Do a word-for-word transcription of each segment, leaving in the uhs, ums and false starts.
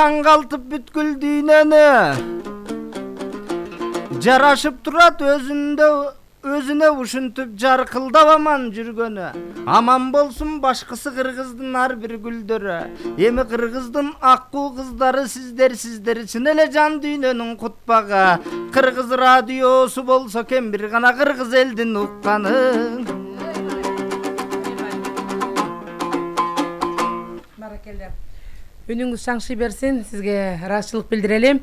Аңгалтып бүткүл дүйнөнү жарашып турат өзүндө өзүнө ушинтип жаркылдап аман жүргөнү. Аман болсун башкысы кыргыздын ар бир гүлдөрү. Эми кыргыздын аккуу кыздары сиздер сиздер чын эле жан дүйнөнүн кутпагы. Кыргыз радиосу болсо экен бир гана кыргыз элдин укканы. Баракелде. Үнүңүз шаңшый берсин, сизге ыраазычылык билдирели.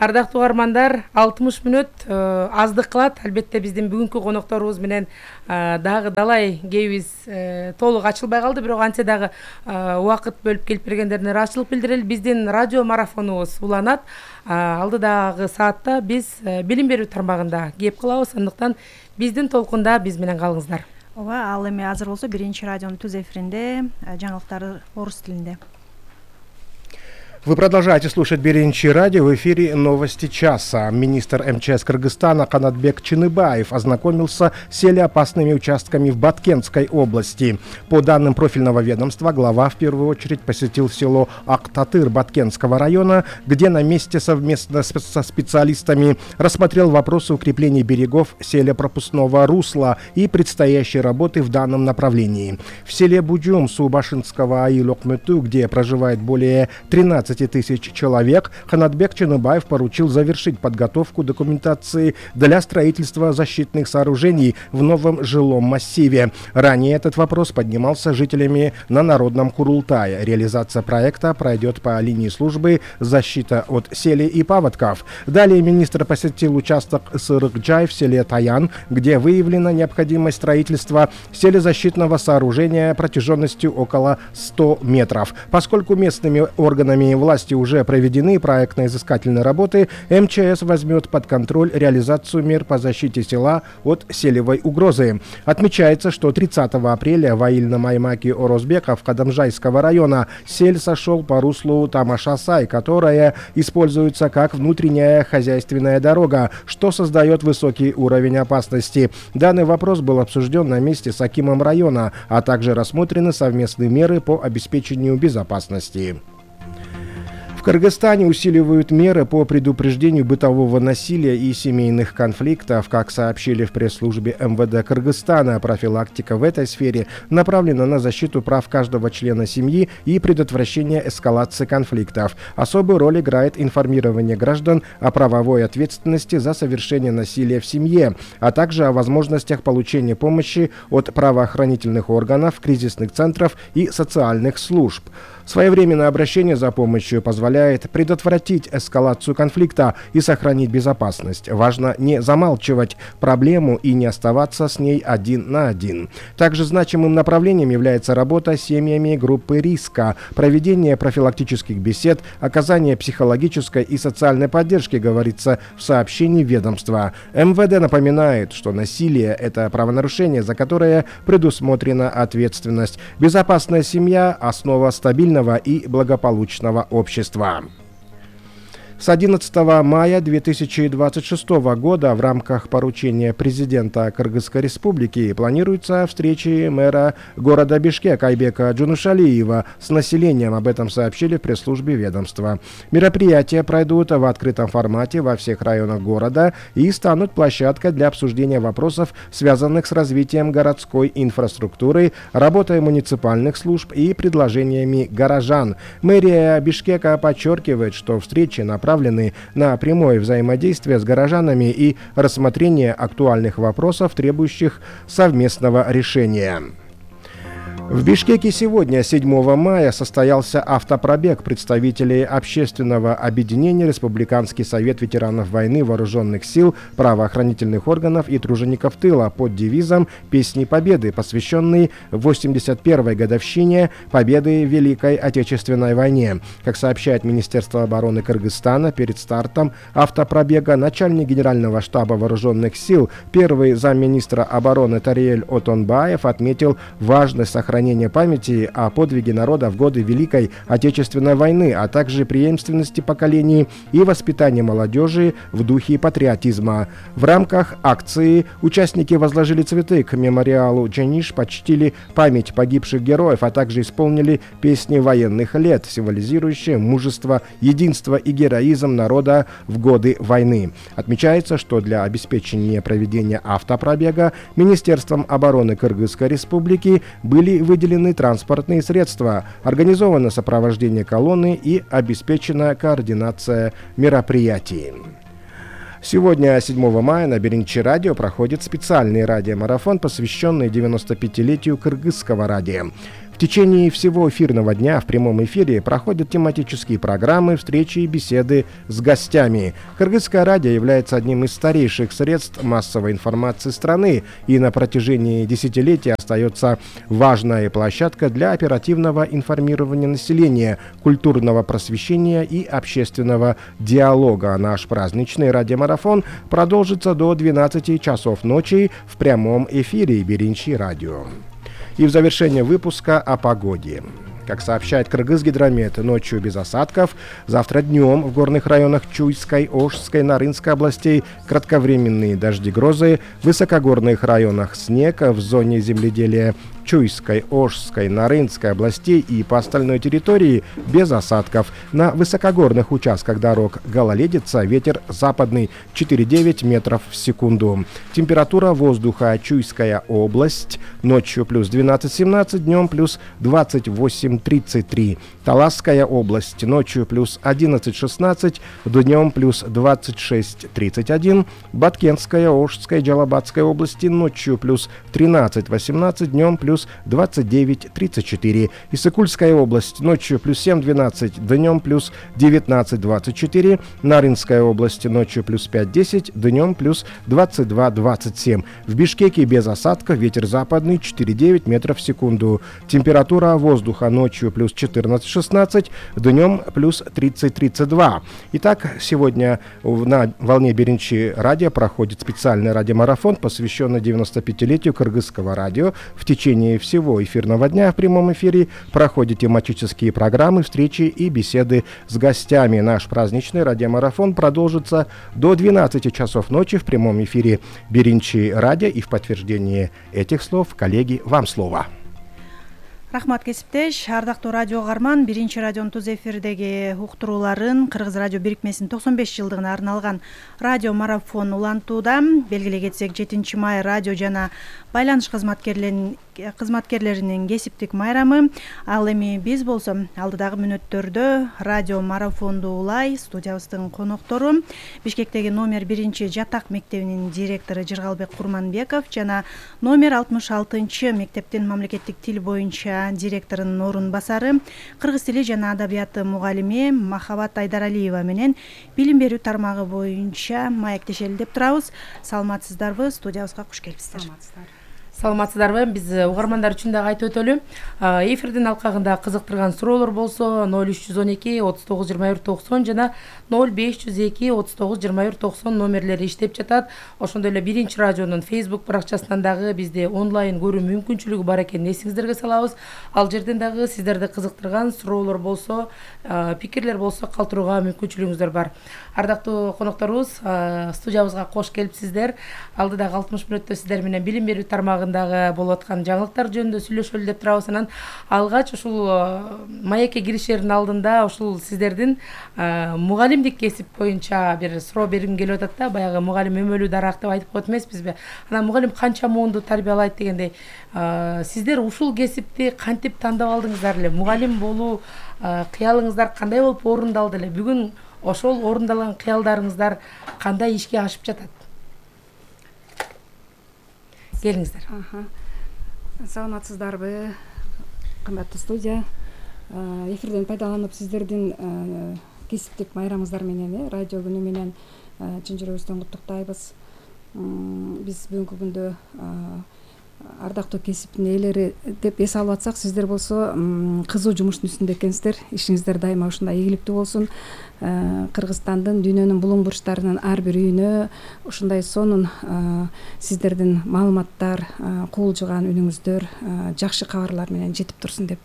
Ардактуу угармандар, алтымыш мүнөт аздык кылат. Албетте биздин бүгүнкү конокторубуз менен дагы далай кебиз толук ачылбай калды, бирок антсе дагы убакыт бөлүп келип бергендерине ыраазычылык билдирели. Биздин радио марафонубуз уланат. Алдыдагы саатта биз билим берүү тармагында кеп кылабыз, андыктан биздин толкунда биз менен калыңыздар. Ооба, ал эми азыр болсо биринчи радионун түз эфиринде жаңылыктар орус тилинде. Вы продолжаете слушать Биринчи радио. В эфире новости часа. Министр МЧС Кыргызстана Канатбек Чыныбаев ознакомился с селеопасными участками в Баткентской области. По данным профильного ведомства, глава в первую очередь посетил село Актатыр Баткентского района, где на месте совместно со специалистами рассмотрел вопросы укрепления берегов селепропускного русла и предстоящей работы в данном направлении. В селе Будюм Субашинского Аилокмыту, где проживает более тринадцати тысяч человек, Канатбек Чыныбаев поручил завершить подготовку документации для строительства защитных сооружений в новом жилом массиве. Ранее этот вопрос поднимался жителями на Народном Курултае. Реализация проекта пройдет по линии службы «Защита от селей и паводков». Далее министр посетил участок Сырыкджай в селе Таян, где выявлена необходимость строительства селезащитного сооружения протяженностью около ста метров. Поскольку местными органами власти уже проведены проектно-изыскательные работы, МЧС возьмет под контроль реализацию мер по защите села от селевой угрозы. Отмечается, что тридцатого апреля в Аильном Аймаке Орозбеков Кадамжайского района сель сошел по руслу Тамашасай, которая используется как внутренняя хозяйственная дорога, что создает высокий уровень опасности. Данный вопрос был обсужден на месте с акимом района, а также рассмотрены совместные меры по обеспечению безопасности. В Кыргызстане усиливают меры по предупреждению бытового насилия и семейных конфликтов. Как сообщили в пресс-службе МВД Кыргызстана, профилактика в этой сфере направлена на защиту прав каждого члена семьи и предотвращение эскалации конфликтов. Особую роль играет информирование граждан о правовой ответственности за совершение насилия в семье, а также о возможностях получения помощи от правоохранительных органов, кризисных центров и социальных служб. Своевременное обращение за помощью позволяет предотвратить эскалацию конфликта и сохранить безопасность. Важно не замалчивать проблему и не оставаться с ней один на один. Также значимым направлением является работа с семьями группы риска, проведение профилактических бесед, оказание психологической и социальной поддержки, говорится в сообщении ведомства. МВД напоминает, что насилие – это правонарушение, за которое предусмотрена ответственность. Безопасная семья – основа стабильности и благополучного общества. С одиннадцатого мая две тысячи двадцать шестого года в рамках поручения президента Кыргызской республики планируется встречи мэра города Бишкек Айбека Джунушалиева с населением. Об этом сообщили в пресс-службе ведомства. Мероприятия пройдут в открытом формате во всех районах города и станут площадкой для обсуждения вопросов, связанных с развитием городской инфраструктуры, работой муниципальных служб и предложениями горожан. Мэрия Бишкека подчеркивает, что встречи направлены на прямое взаимодействие с горожанами и рассмотрение актуальных вопросов, требующих совместного решения. В Бишкеке сегодня, седьмого мая, состоялся автопробег представителей общественного объединения «Республиканский совет ветеранов войны, вооруженных сил, правоохранительных органов и тружеников тыла» под девизом «Песни Победы», посвященный восемьдесят первой годовщине Победы в Великой Отечественной войне. Как сообщает Министерство обороны Кыргызстана, перед стартом автопробега начальник Генерального штаба вооруженных сил, первый замминистра обороны Тариэль Отонбаев отметил важность сохранения сохранения памяти о подвиге народа в годы Великой Отечественной войны, а также преемственности поколений и воспитания молодежи в духе патриотизма. В рамках акции участники возложили цветы к мемориалу Джениш, почтили память погибших героев, а также исполнили песни военных лет, символизирующие мужество, единство и героизм народа в годы войны. Отмечается, что для обеспечения проведения автопробега Министерством обороны Кыргызской Республики были выделены транспортные средства, организовано сопровождение колонны и обеспечена координация мероприятий. Сегодня, седьмого мая, на Беренчи радио проходит специальный радиомарафон, посвященный девяностопятилетию кыргызского радио. В течение всего эфирного дня в прямом эфире проходят тематические программы, встречи и беседы с гостями. Кыргызское радио является одним из старейших средств массовой информации страны и на протяжении десятилетий остается важной площадкой для оперативного информирования населения, культурного просвещения и общественного диалога. Наш праздничный радиомарафон продолжится до двенадцати часов ночи в прямом эфире Беренчи радио. И в завершение выпуска о погоде. Как сообщает Кыргызгидромет, ночью без осадков. Завтра днем в горных районах Чуйской, Ошской, Нарынской областей кратковременные дожди, грозы. В высокогорных районах снег. В зоне земледелия Чуйской, Ошской, Нарынской областей и по остальной территории без осадков. На высокогорных участках дорог гололедица, ветер западный четыре девять метров в секунду. Температура воздуха: Чуйская область ночью плюс двенадцать семнадцать, днем плюс двадцать восемь тридцать три. Таласская область ночью плюс одиннадцать шестнадцать, днем плюс двадцать шесть тридцать один. Баткенская, Ошская, Джалабатская области ночью плюс тринадцать восемнадцать, днем плюс двадцать девять тридцать четыре. Иссыкульская область ночью плюс семь двенадцать, днем плюс девятнадцать двадцать четыре. Нарынская область ночью плюс пять десять, днем плюс двадцать два двадцать семь. В Бишкеке без осадков, ветер западный четыре девять метров в секунду. Температура воздуха ночью плюс четырнадцать шестнадцать, днем плюс тридцать тридцать два. Итак, сегодня на волне Беренчи радио проходит специальный радиомарафон, посвященный девяностопятилетию кыргызского радио. В течение всего эфирного дня в прямом эфире проходят тематические программы, встречи и беседы с гостями. Наш праздничный радиомарафон продолжится до двенадцати часов ночи в прямом эфире Беренчи радио. И в подтверждение этих слов, коллеги, вам слово. Рахмат кесиптеш, ардактуу радио угарман, Биринчи радионун туз эфирдеги уктурууларын Кыргыз радио бирикмесинин токсон беш жылдыгына арналган радио марафон улантууда. Белгилей кетсек, жетинчи май радио жана байланыш кызматкерлеринин кызматкерлеринин кесиптик майрамы. Ал эми биз болсо алдыдагы мүнөттөрдө радио марафонду улай. Студиябыздын коноктору Бишкектеги номер биринчи жатак мектебинин директору Жыргалбек Курманбеков жана номер алтымыш алтынчы мектептин мамлекеттик тил боюнча директорунун орун басары, кыргыз тили жана адабияты мугалими Махабат Айдаралиева менен билим берүү тармагы боюнча маектешели деп турабыз. Саламатсыздарбы? Студиябызга куш келипсиздер. Саламатсыздарбы? Биз угармандар үчүн дагы айтып өтөлү. Эфирдин алкагында кызыктырган суроолор болсо ноль үч жүз он эки отуз тогуз жыйырма бир токсон жана ноль беш жүз эки отуз тогуз жыйырма бир токсон номерлери иштеп жатат. Ошондой эле Биринчи радионун Facebook баракчасынан дагы бизди онлайн көрүү мүмкүнчүлүгү бар экенин эсиңиздерге салабыз. Ал жерден дагы сиздерди кызыктырган суроолор болсо, пикирлер болсо калтырууга мүмкүнчүлүгүңүздөр бар. Ардактуу конокторубуз, студиябызга кош келипсиздер. Алдыдагы алтымыш мүнөттө сиздер менен билим берүү тармагындагы болуп аткан жаңылыктар жөнүндө сүйлөшөлү деп турабыз. Анан алгач ушул маекке киришердин алдында ушул сиздердин мугалимдик кесип боюнча бир суроо бергим келип атат да. Баягы мугалим өмөлүү дарак деп айтып коет эмеспизби? Анан мугалим канча муунду тарбиялайт дегендей, сиздер ушул кесипти кантип тандап алдыңыздар эле? Мугалим болуу кыялыңыздар кандай болуп орундалды эле? Бүгүн ошол орундалган кыялдарыңыздар кандай ишке ашып жатат? Келиңиздер. Саламатсыздарбы, кымбаттуу студия. Эфирден пайдаланып сиздердин кесиптик майрамыңыздар менен, радио күнү менен чын жүрөгүбүздөн куттуктайбыз. Биз бүгүнкү күндө ардактуу кесиптин ээлери деп эс алып атсак, сиздер болсо кызуу жумуштун үстүндө экенсиздер. Ишиңиздер дайыма ушундай ийгиликтүү болсун. Кыргызстандын, дүйнөнүн булуң бурчтарынын ар бир үйүнө ушундай сонун сиздердин маалыматтар, кубулжуган үнүңүздөр, жакшы кабарлар менен жетип турсун деп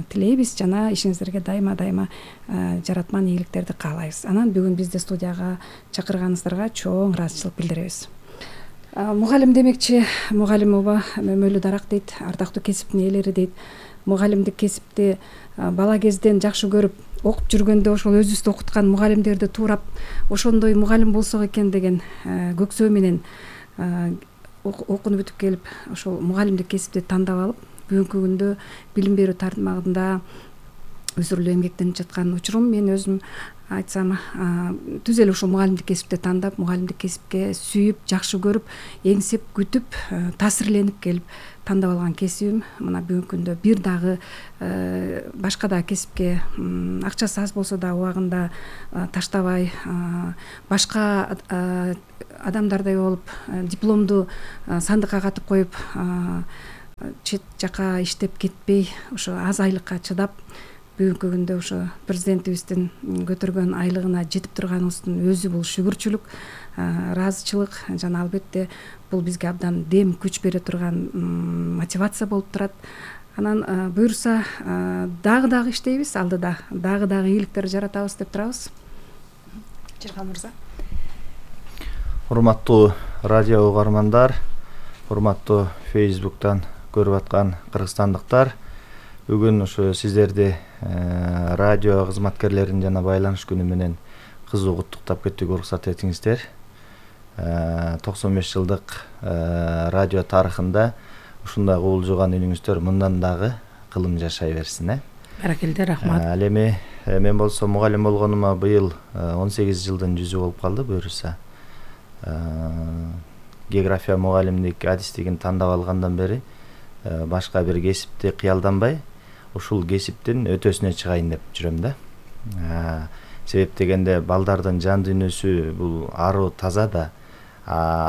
тилейбиз жана ишиңиздерге дайыма дайыма жаратман ийгиликтерди каалайбыз. Анан бүгүн бизди студияга чакырганыңыздарга чоң ыраазычылык билдиребиз. Мугалим демекчи, мугалим оба мөмөлүү дарак дейт, ардактуу кесиптин ээлери дейт. Мугалимдик кесипти бала кезден жакшы көрүп, окуп жүргөндө ошол өзүбүздү окуткан мугалимдерди туурап ошондой мугалим болсок экен деген көксөө менен окунуп бүтүп келип, ошол мугалимдик кесипти тандап алып, бүгүнкү күндө билим берүү тармагында өзүрлүү эмгектенип жаткан учурум. Мен өзүм айтсам түз эле ушул мугалимдик кесипти тандап, мугалимдик кесипке сүйүп, жакшы көрүп, эңсеп, күтүп, таасирленип келип тандап алган кесибим. Мына бүгүнкү күндө бир дагы башка да кесипке акчасы аз болсо да убагында таштабай, башка адамдардай болуп дипломду сандыкка катып коюп, чет жака иштеп кетпей, ошо аз айлыкка чыдап, бүгүнкү күндө ошо президентибиздин көтөргөн айлыгына жетип турганыбыздын өзү бул шүгүрчүлүк, ыраазычылык жана албетте бул бизге абдан дем, күч бере турган мотивация болуп турат. Анан буюрса дагы-дагы иштейбиз, алдыда дагы-дагы ийгиликтер жаратабыз деп турабыз. Жырган мырза. Урматтуу радио угармандар, урматтуу Facebook'тан көрүп аткан кыргызстандыктар, бүгүн ушу сиздерди радио кызматкерлерин жана байланыш күнү менен кызуу куттуктап кетүүгө уруксат этиңиздер. токсон беш жылдык радио тарыхында ушундай кубулжуган үнүңүздөр мындан дагы кылым жашай берсин. Э Баракелде, рахмат. Ал эми мен болсо мугалим болгонума быйыл он сегиз жылдын жүзү болуп калды. Буюрса география мугалимдик адистигин тандап алгандан бери башка бир кесипти кыялданбай, ушул кесиптин өтөсүнө чыгайын деп жүрөм да. Себеп дегенде балдардын жан дүйнөсү бул аруу таза да.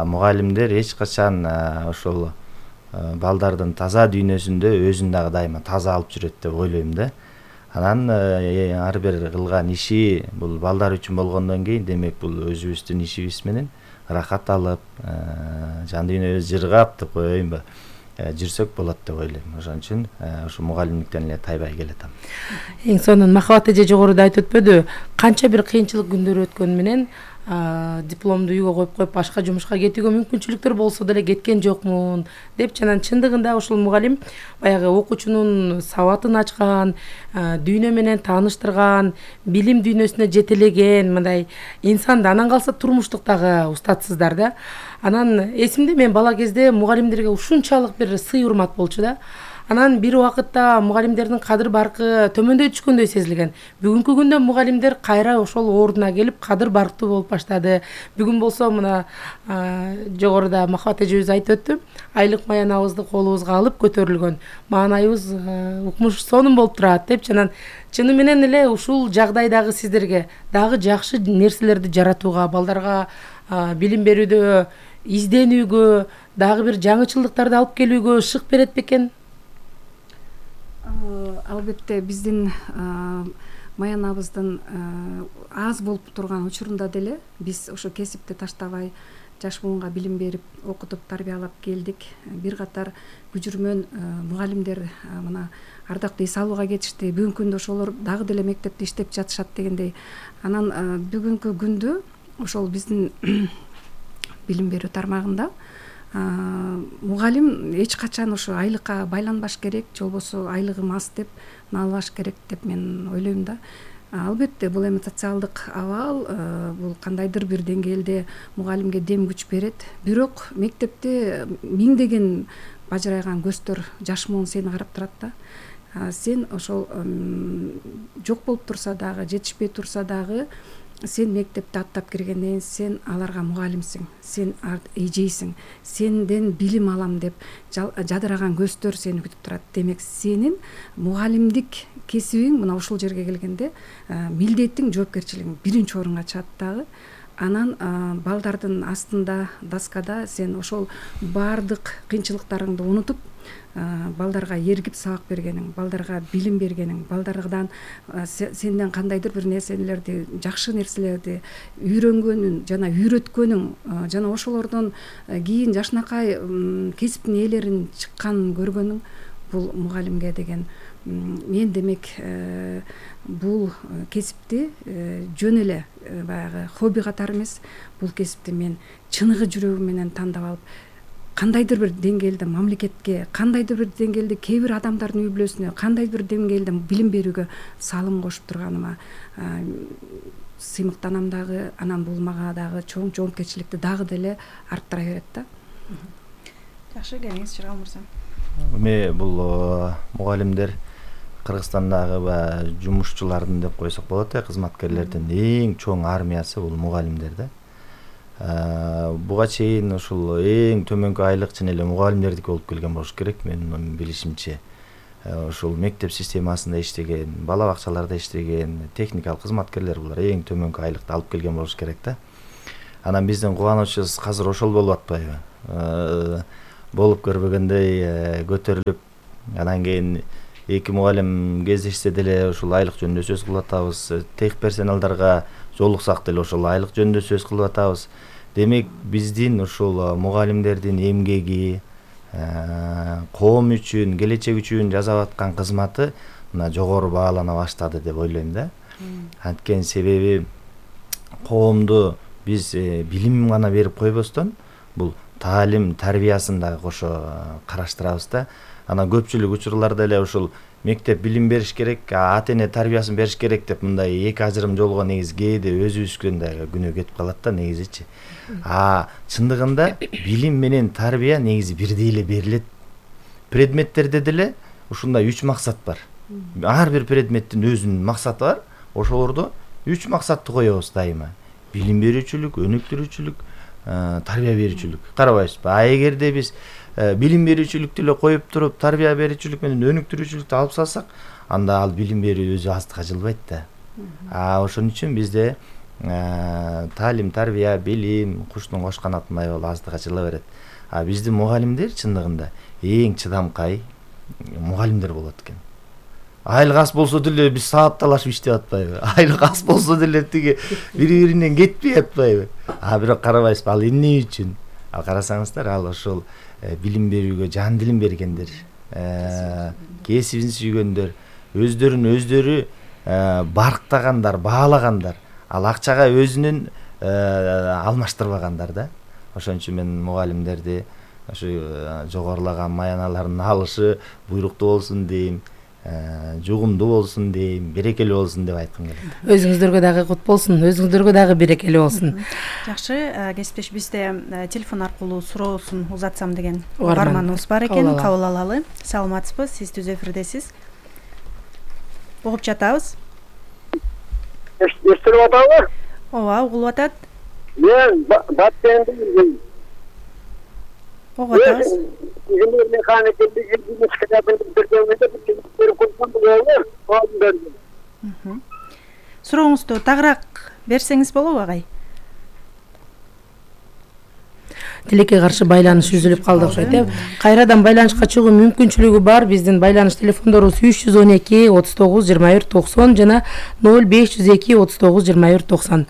Мугалимдер эч качан ошол балдардын таза дүйнөсүндө өзүн дагы дайыма таза алып жүрөт деп ойлойм да. Анан ар бир кылган иши бул балдар үчүн болгондон кийин, демек бул өзүбүздүн ишибиз менен рахат алып, жан дүйнөбүз жыргап деп коеюнбу, жүрсөк болот деп ойлойм. Ошон үчүн ушу мугалимдиктен эле тайбай келатам. Эң сонун махабат эже жогоруда айтып өтпөдү, канча бир кыйынчылык күндөр өткөн менен дипломду үйгө коюп коюп башка жумушка кетүүгө мүмкүнчүлүктөр болсо деле кеткен жокмун деп, жана чындыгында ушул мугалим баягы окуучунун сабатын ачкан, дүйнө менен тааныштырган, билим дүйнөсүнө жетелеген мындай инсанды. Анан калса турмуштук дагы устатсыздар да. Анан эсимде, мен бала кезде мугалимдерге ушунчалык бир сый урмат болчу да. Анан бир убакытта мугалимдердин кадыр баркы төмөндөй түшкөндөй сезилген. Бүгүнкү күндө мугалимдер кайра ошол ордуна келип кадыр барктуу болуп баштады. Бүгүн болсо мына жогоруда махабат эжебиз айтып өттү, айлык маянабызды колубузга алып көтөрүлгөн, маанайыбыз укмуш сонун болуп турат деп. Жана чыны менен эле ушул жагдайдагы сиздерге дагы жакшы нерселерди жаратууга, балдарга билим берүүдө, изденүүгө, дагы бир жаңычылдыктарды алып келүүгө шык берет бекен? Албетте биздин маянабыздын аз болуп турган учурунда деле биз ошо кесипти таштабай жаш буунга билим берип, окутуп, тарбиялап келдик. Бир катар күжүрмөн мугалимдер мына ардактуу эс алууга кетишти. Бүгүнкү күндө ошолор дагы деле мектепте иштеп жатышат дегендей. Анан бүгүнкү күндө ошол биздин билим берүү тармагында мугалим эч качан ошо айлыкка байланбаш керек, же болбосо айлыгым аз деп наалбаш керек деп мен ойлойм да. Албетте бул эми социалдык абал, бул кандайдыр бир деңгээлде мугалимге дем күч берет. Бирок мектепте миңдеген бажырайган көздөр, жаш муун сени карап турат да. Сен ошол жок болуп турса дагы, жетишпей турса дагы, сен мектепти аттап киргенден сен аларга мугалимсиң, сен эжейсиң, сенден билим алам деп жадыраган көздөр сени күтүп турат. Демек сенин мугалимдик кесибиң мына ушул жерге келгенде милдетиң, жоопкерчилигиң биринчи орунга чыгат дагы. анан балдардын астында доскада сен ошол баардык кыйынчылыктарыңды унутуп балдарга эргип сабак бергениң, балдарга билим бергениң, балдардан сенден кандайдыр бир нерселерди, жакшы нерселерди үйрөнгөнүң жана үйрөткөнүң жана ошолордон кийин жашынакай кесиптин ээлерин чыкканын көргөнүң бул мугалимге деген. Мен демек бул кесипти жөн эле баягы хобби катары эмес, бул кесипти мен чыныгы жүрөгүм менен тандап алып, кандайдыр бир деңгээлде мамлекетке, кандайдыр бир деңгээлде кээ бир адамдардын үй бүлөсүнө, кандайдыр бир деңгээлде билим берүүгө салым кошуп турганыма сыймыктанам дагы, анан бул мага дагы чоң жоопкерчиликти дагы деле арттыра берет да. Жакшы, келиңиз Жыргал мырза. Эми бул мугалимдер Кыргызстандагы жумушчулардын деп койсок болот э, кызматкерлердин эң чоң армиясы бул мугалимдер да. Буга чейин ушул эң төмөнкү айлык чын эле мугалимдердики болуп келген болуш керек, менин билишимче. Ушул мектеп системасында иштеген, бала бакчаларда иштеген техникалык кызматкерлер булар эң төмөнкү айлыкты алып келген болуш керек да. Анан биздин кубанычыбыз азыр ошол болуп атпайбы? Болуп көрбөгөндөй көтөрүлүп, анан кийин эки мугалим кездешсе деле ушул айлык жөнүндө сөз кылып атабыз. Тех персоналдарга жолуксак деле ошол айлык жөнүндө сөз кылып атабыз. Демек биздин ушул мугалимдердин эмгеги, коом үчүн, келечек үчүн жасап аткан кызматы мына жогору баалана баштады деп ойлойм да. Анткени себеби коомду биз билим гана берип койбостон, бул таалим, тарбиясын дагы кошо караштырабыз да. Анан көпчүлүк учурларда эле ушул мектеп билим бериш керек, ата-эне тарбиясын бериш керек деп мындай эки ажырым жолго негизи кээде өзүбүздөн дагы күнөө кетип калат да негизичи. А чындыгында билим менен тарбия негизи бирдей эле берилет. Предметтерде деле ушундай үч максат бар. Ар бир предметтин өзүнүн максаты бар. Ошолордо үч максатты коебуз дайыма. Билим берүүчүлүк, өнүктүрүүчүлүк, тарбия берүүчүлүк. Карабайсызбы? А эгерде биз билим берүүчүлүктү эле коюп туруп, тарбия берүүчүлүк менен өнүктүрүүчүлүктү алып салсак, анда ал билим берүү өзү аздыкка жылбайт да. А ошон үчүн бизде таалим, тарбия, билим куштун кош канатындай болуп аздыкка жыла берет. А биздин мугалимдер чындыгында эң чыдамкай мугалимдер болот экен. Айлык аз болсо деле биз саат талашып иштеп атпайбы? Айлык аз болсо деле тиги бири-биринен кетпей атпайбы? А бирок карабайсызбы, ал эмне үчүн? Ал карасаңыздар, ал ошол билим берүүгө жан дилин бергендер, кесибин сүйгөндөр, өздөрүн өздөрү барктагандар, баалагандар, ал акчага өзүнүн алмаштырбагандар да. Ошон үчүн мен мугалимдерди ошо жогорулаган маяналарын алышы буйруктуу болсун дейм, жугумдуу болсун дейм, берекелүү болсун деп айткым келет. Өзүңүздөргө дагы кут болсун, өзүңүздөргө дагы берекелүү болсун. Жакшы, кесиптеш, бизде телефон аркылуу суроосун узатсам деген угарманыбыз бар экен, кабыл алалы. Саламатсызбы? Сиз түз эфирдесиз. Угуп жатабыз. Эстелип атабы? Ооба, угулуп атат. Мен Баткенден угуп атабыз. Инженер механиктерди китабын бирдемеде бир курсан болобу? Сурооңузду тагыраак берсеңиз болобу, агай? Тилекке каршы байланыш үзүлүп калды окшойт э. Кайрадан байланышка чыгуу мүмкүнчүлүгү бар. Биздин байланыш телефондорубуз үч жүз он эки отуз тогуз жыйырма бир токсон жана ноль беш жүз эки отуз тогуз жыйырма бир токсон.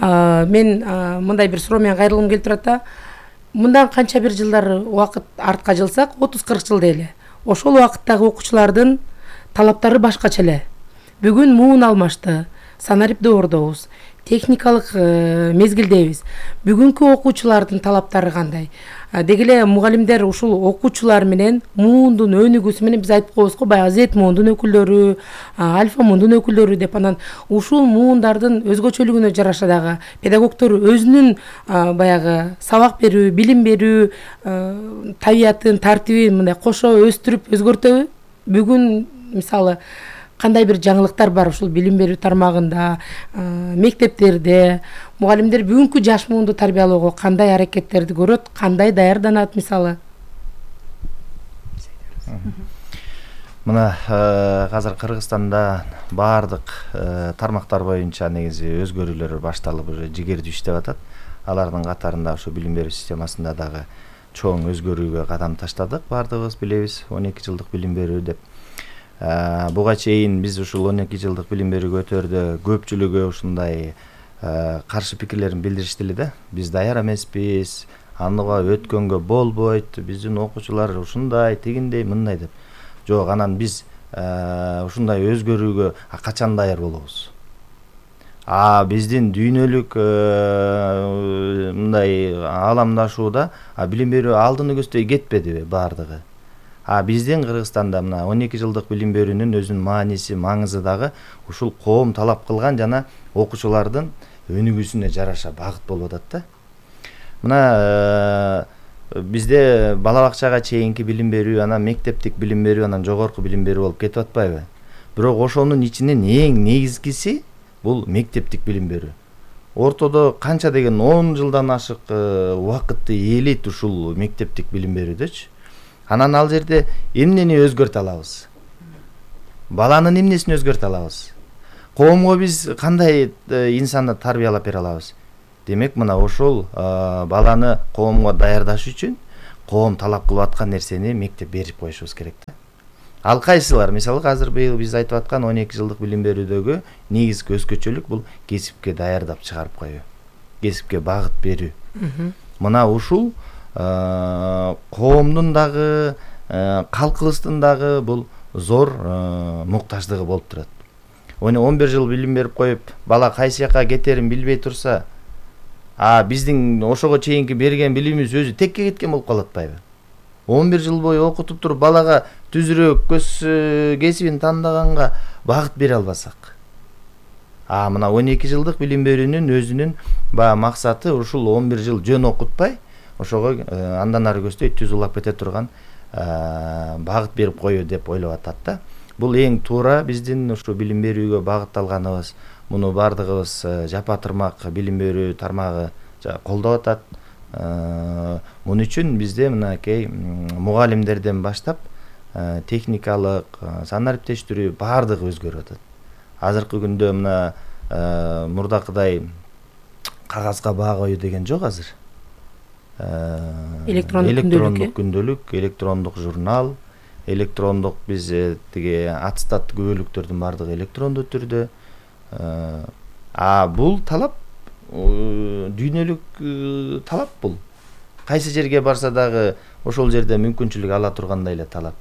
Мен мындай бир суроо менен кайрылгым келип турат да. Мындан канча бир жылдар убакыт артка жылсак, отуз кырк жыл дейли. Ошол убакыттагы окуучулардын талаптары башкача эле. Бүгүн муун алмашты. Санарип доордобуз. Техникалык мезгилдебиз. Бүгүнкү окуучулардын талаптары кандай? Деги эле мугалимдер ушул окуучулар менен муундун өнүгүүсү менен биз айтып коебуз го, баягы Z муундун өкүлдөрү, альфа муундун өкүлдөрү деп, анан ушул муундардын өзгөчөлүгүнө жараша дагы педагогдор өзүнүн баягы сабак берүү, билим берүү табиятын, тартибин мындай кошо өстүрүп өзгөртөбү? Бүгүн мисалы кандай бир жаңылыктар бар ушул билим берүү тармагында, мектептерде? Мугалимдер бүгүнкү жаш муунду тарбиялоого кандай аракеттерди көрөт, кандай даярданат мисалы? Мына азыр Кыргызстанда баардык тармактар боюнча негизи өзгөрүүлөр башталып уже жигердүү иштеп атат. Алардын катарында ушу билим берүү системасында дагы чоң өзгөрүүгө кадам таштадык. Баардыгыбыз билебиз, он эки жылдык билим берүү деп. Буга чейин биз ушул он эки жылдык билим берүү көтөрдө көпчүлүгү ушундай каршы пикирлерин билдиришти эле да. Биз даяр эмеспиз, аныга өткөнгө болбойт, биздин окуучулар ушундай, тигиндей, мындай деп. Жок, анан биз ушундай өзгөрүүгө качан даяр болобуз? А биздин дүйнөлүк мындай ааламдашууда билим берүү алдыны көздөй кетпедиби баардыгы? А биздин Кыргызстанда мына он эки жылдык билим берүүнүн өзүнүн мааниси, маңызы дагы ушул коом талап кылган жана окуучулардын өнүгүүсүнө жараша багыт болуп атат да. Мына бизде бала бакчага чейинки билим берүү, анан мектептик билим берүү, анан жогорку билим берүү болуп кетип атпайбы? Бирок ошонун ичинен эң негизгиси бул мектептик билим берүү. Ортодо канча деген он жылдан ашык убакытты ээлейт ушул мектептик билим берүүдөчү. Анан ал жерде эмнени өзгөртө алабыз? Баланын эмнесин өзгөртө алабыз? Коомго биз кандай инсанды тарбиялап бере алабыз? Демек, мына ошол баланы коомго даярдаш үчүн коом талап кылып аткан нерсени мектеп берип коюшубуз керек да. Ал кайсылар? Мисалы, азыр быйыл биз айтып аткан он эки жылдык билим берүүдөгү негизги өзгөчөлүк бул кесипке даярдап чыгарып коюу, кесипке багыт берүү. Мына ушул коомдун дагы, калкыбыздын дагы бул зор муктаждыгы болуп турат. он бир жыл билим берип коюп, бала кайсы жака кетерин билбей турса, а биздин ошого чейинки берген билимибиз өзү текке кеткен болуп калат атпайбы? он бир жыл бою окутуп туруп балага түзүрөөк көз кесибин тандаганга багыт бере албасак. А мына он эки жылдык билим берүүнүн өзүнүн баягы максаты ушул он бир жыл жөн окутпай, ошого андан ары көздөй түз улап кете турган багыт берип коюу деп ойлоп атат да. Бул эң туура биздин ушу билим берүүгө багытталганыбыз. Муну баардыгыбыз жапа тырмак билим берүү тармагы колдоп атат. Муну үчүн бизде мынакей мугалимдерден баштап техникалык, сан ариптештирүү баардыгы өзгөрүп атат. Азыркы күндө мына мурдакыдай кагазга баа коюу деген жок азыр. Электрондук күндөлүк, электрондук журнал, электрондук биз тиги аттестат күбөлүктөрдүн баардыгы электрондуу түрдө. А бул талап дүйнөлүк талап бул. Кайсы жерге барса дагы ошол жерде мүмкүнчүлүк ала тургандай эле талап.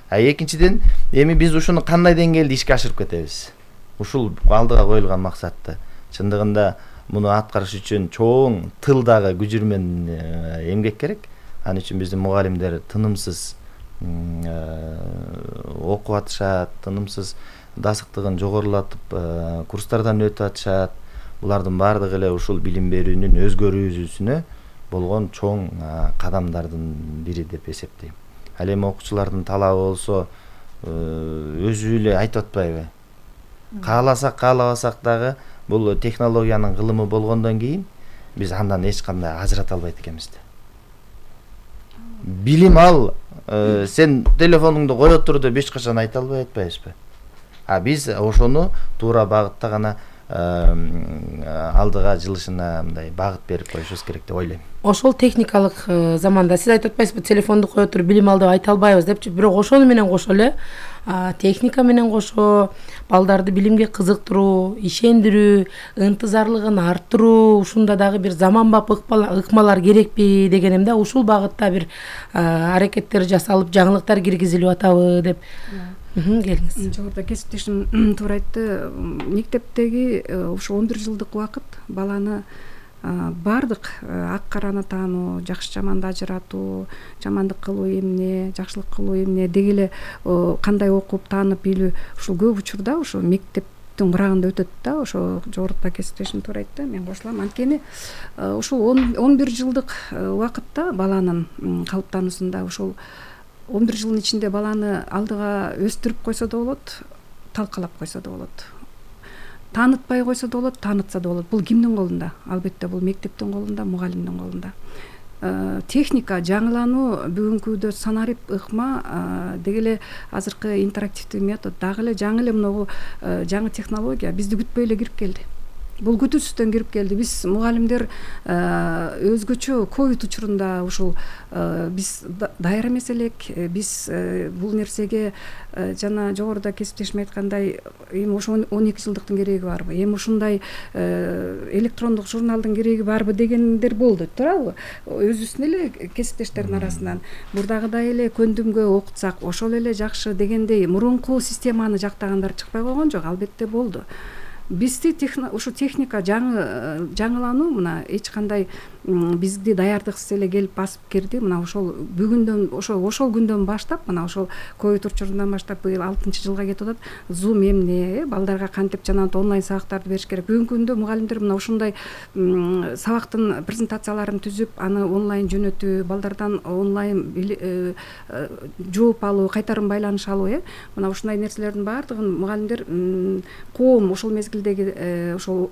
А экинчиден, эми биз ушуну кандай деңгээлде ишке ашырып кетебиз? Ушул алдыга коюлган максатты. Чындыгында муну аткарыш үчүн чоң тылдагы күчүр менен эмгек керек. Ал үчүн биздин мугалимдер тынымсыз окуп атышат, тынымсыз дасыктыгын жогорулатып курстардан өтүп атышат. Булардын баардыгы эле ушул билим берүүнүн өзгөрүүсүнө болгон чоң кадамдардын бири деп эсептейм. Ал эми окуучулардын талабы болсо өзү эле айтып атпайбы? Кааласак, каалабасак дагы бул технологиянын кылымы болгондон кийин биз андан эч кандай ажырата албайт экенбиз да. Билим ал, сен телефонуңду кое тур деп эч качан айта албай атпайбызбы? А биз ошону туура багытта гана алдыга жылышына мындай багыт берип коюшубуз керек деп ойлойм. Ошол техникалык заманда сиз айтып атпайсызбы, телефонду кое туруп билим ал деп айта албайбыз депчи, бирок ошону менен кошо эле техника менен кошо балдарды билимге кызыктыруу, ишендирүү, ынтызарлыгын арттыруу, ушунда дагы бир заманбап ыкмалар керекпи дегеним да. Ушул багытта бир аракеттер жасалып, жаңылыктар киргизилип атабы деп. Келиңиз. Жогоруда кесиптешим туура айтты. Мектептеги ушу он бир жылдык убакыт баланы баардык ак караны таануу, жакшы жаманды ажыратуу, жамандык кылуу эмне, жакшылык кылуу эмне, деги эле кандай окуп таанып билүү, ушул көп учурда ошо мектептин курагында өтөт да. Ошо жогоруда кесиптешим туура айтты, мен кошулам. Анткени ушул он бир жылдык убакытта баланын калыптануусунда ушул он бир жылдын ичинде баланы алдыга өстүрүп койсо да болот, талкалап койсо да болот. Таанытпай койсо да болот, таанытса да болот. Бул кимдин колунда? Албетте бул мектептин колунда, мугалимдин колунда. техника жаңылануу бүгүнкү күндө санарип ыкма деги эле азыркы интерактивдүү метод дагы эле жаңы эле мынагу жаңы технология бизди күтпөй эле кирип келди. Бул күтүүсүздөн кирип келди. Биз мугалимдер өзгөчө ковид учурунда ушул биз даяр эмес элек. Биз бул нерсеге жана жогоруда кесиптешим айткандай эми ошо он эки жылдыктын кереги барбы, эми ушундай электрондук журналдын кереги барбы дегендер болду, туурабы? Өзүбүздүн эле кесиптештердин арасынан мурдагыдай эле көндүмгө окутсак ошол эле жакшы дегендей мурунку системаны жактагандар чыкпай койгон жок, албетте болду. Бизди ушу техника жаңы жаңылануу мына эч кандай бизди даярдыксыз эле келип басып кирди. Мына ошол бүгүндөн ошол ошол күндөн баштап мына ошол ковид учурунан баштап быйыл алтынчы жылга кетип атат. Zoom эмне, балдарга кантип жанагы онлайн сабактарды бериш керек. Бүгүнкү күндө мугалимдер мына ушундай сабактын презентацияларын түзүп, аны онлайн жөнөтүү, балдардан онлайн жооп алуу, кайтарым байланыш алуу, э мына ушундай нерселердин баардыгын мугалимдер коом ошол мезгилдеги ошол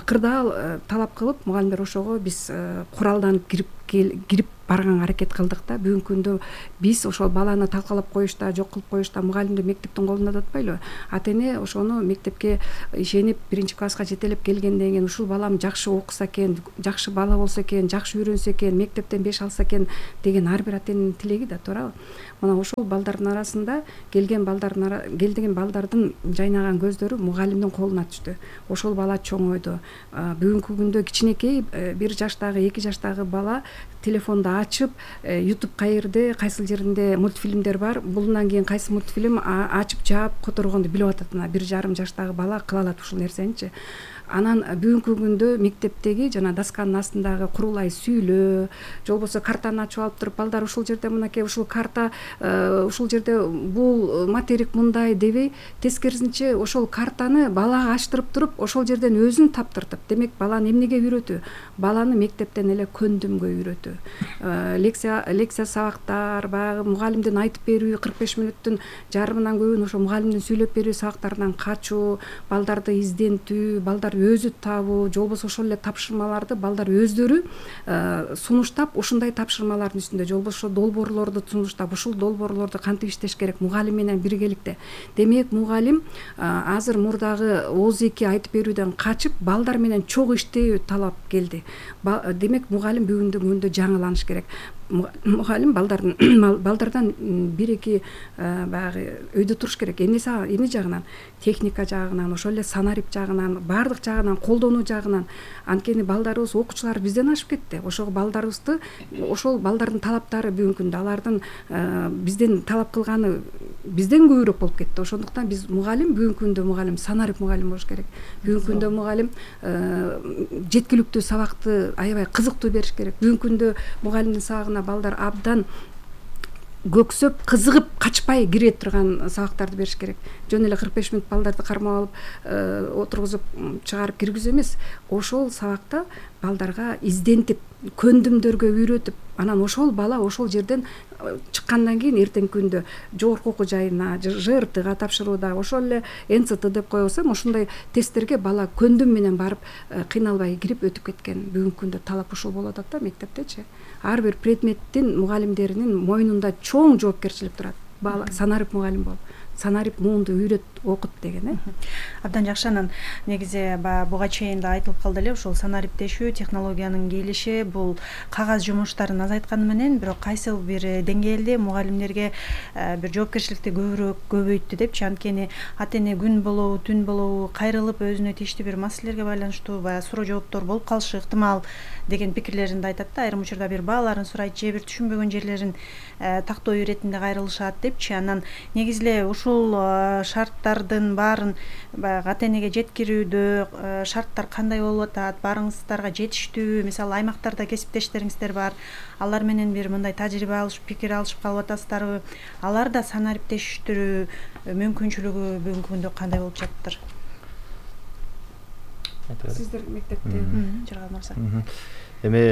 кырдаал талап кылып мугалимдер ошого биз куралданып кирип кирип барганга аракет кылдык да. Бүгүнкү күндө биз ошол баланы талкалап коюшта, жок кылып коюшта мугалимди мектептин колунда да атпайлыбы? Ата эне ошону мектепке ишенип биринчи класска жетелеп келгенден кийин ушул балам жакшы окуса экен, жакшы бала болсо экен, жакшы үйрөнсө экен, мектептен беш алса экен деген ар бир ата эненин тилеги да, туурабы? Мына ошол балдардын арасында келген балдардын келдеген балдардын жайнаган көздөрү мугалимдин колуна түштү. Ошол бала чоңойду. Бүгүнкү күндө кичинекей бир жаштагы, эки жаштагы бала телефонду ачып, YouTube кайерде, кайсыл жеринде мультфильмдер бар, булунан кийин кайсы мультфильм ачып жаап которгонду билип атат. Мына бир жарым жаштагы бала кыла алат ушул нерсеничи. Анан бүгүнкү күндө мектептеги жана досканын астындагы курулай сүйлөө, же болбосо картаны ачып алып туруп балдар ушул жерде мынакей ушул карта, ушул жерде бул материк мындай дебей, тескерисинче ошол картаны балага ачтырып туруп, ошол жерден өзүн таптыртып, демек баланы эмнеге үйрөтүү? Баланы мектептен эле көндүмгө үйрөтүү. Лекция лекция сабактар, баягы мугалимдин айтып берүү кырк беш мүнөттүн жарымынан көбүн ошо мугалимдин сүйлөп берүү сабактарынан качуу, балдарды издентүү, балдар өзү табуу, же болбосо ошол эле тапшырмаларды балдар өздөрү сунуштап, ушундай тапшырмалардын үстүндө же болбосо долбоорлорду сунуштап, ушул долбоорлорду кантип иштеш керек мугалим менен биргеликте. Демек мугалим азыр мурдагы ооз эки айтып берүүдөн качып, балдар менен чогуу иштөө талап келди. Демек мугалим бүгүнкү күндө жаңыланыш керек. Мугалим балдардын балдардан бир эки баягы өйдө туруш керек. Эмнеси эмне жагынан? Техника жагынан, ошол эле санарип жагынан, баардык жагынан, колдонуу жагынан. Анткени балдарыбыз, окуучулар бизден ашып кетти. Ошол балдарыбызды, ошол балдардын талаптары бүгүнкү күндө алардын бизден талап кылганы бизден көбүрөөк болуп кетти. Ошондуктан биз мугалим бүгүнкү күндө мугалим санарип мугалим болуш керек. Бүгүнкү күндө мугалим жеткиликтүү сабакты аябай кызыктуу бериш керек. Бүгүнкү күндө мугалимдин сабагына балдар абдан көксөп, кызыгып, качпай кире турган сабактарды бериш керек. Жөн эле кырк беш мүнөт балдарды кармап алып, отургузуп, чыгарып киргизүү эмес. Ошол сабакта балдарга издентип, көндүмдөргө үйрөтүп, анан ошол бала ошол жерден чыккандан кийин эртеңки күндө жогорку окуу жайына, ЖРТга тапшырууда, ошол эле эн цэ тэ деп коебуз, ошондой тесттерге бала көндүм менен барып, кыйналбай кирип өтүп кеткен. Бүгүнкү күндө талап ушул болуп атат да мектептечи. Ар бир предметтин мугалимдеринин мойнунда чоң жоопкерчилик турат. Бала санарип мугалим бол. Санарип муунду үйрөт, окут деген, э. Абдан жакшы. Анан негизи буга чейин да айтылып калды эле, ушул санариптешүү технологиянын келиши бул кагаз жумуштарын азайтканы менен, бирок кайсыл бир деңгээлде мугалимдерге бир жоопкерчиликти көбүрөөк көбөйттү депчи. Анткени ата эне күн болобу, түн болобу кайрылып өзүнө тийиштүү бир маселелерге байланыштуу баягы суроо жооптор болуп калышы ыктымал деген пикирлерин да айтат да. Айрым учурда бир бааларын сурайт, же бир түшүнбөгөн жерлерин тактоо иретинде кайрылышат депчи. Анан негизи эле ушул шарттардын баарын баягы ата энеге жеткирүүдө шарттар кандай болуп атат, баарыңыздарга жетиштүү? Мисалы аймактарда кесиптештериңиздер бар, алар менен бир мындай тажрыйба алышып, пикир алышып калып атасыздарбы? Алар да санариптештирүү мүмкүнчүлүгү бүгүнкү күндө кандай болуп жатыптыр? Сиздер мектепте Жаргал мырза. Эми